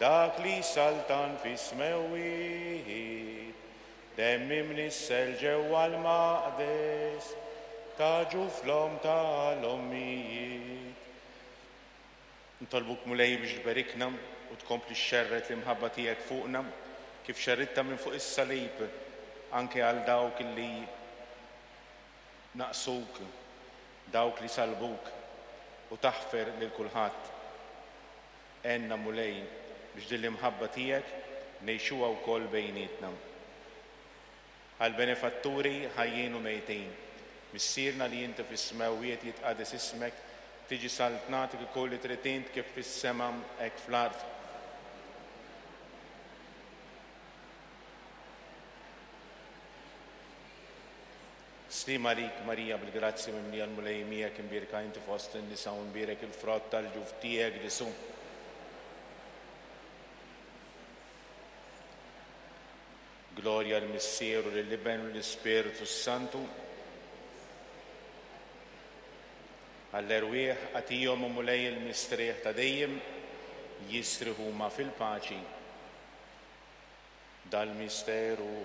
Dak li jsaltan fis-smewwiet, Demm imnissel ġewwa l-maqdes ta' ġuf l-omm ta' l-ommijiet. Nitolbuk Mulej biex tberikna u tkompli xxerred l-imħabba tiegħek fuqna kif xerridtha minn fuq is-salib anke għal dawk li naqsuk, dawk li salbuk u taħfer lil kulħadd. Għenna Mulej biex din l-imħabba tiegħek ngħixuha wkoll bejnietna. Għall-benefatturi ħajjin u mejtin, Missierna li inti fis-smewwiet jitqades ismek, tiġi saltnatek ikun li trid int kif fis-sema hekk fl-art. Sliem għalik Marija bil-grazzja mimlija l-Mulej miegħek imbierka inti fost in-nisa u mbierek il-frott tal-ġuf tiegħek Ġesù. Glorja l-Missier u lill-Iben u l-Ispirtu s-Santu. Għall-erwieħ agħtihom o Mulej il-mistrieħ ta' dejjem, jistrieħu huma fil-paċi. Dal-misteru.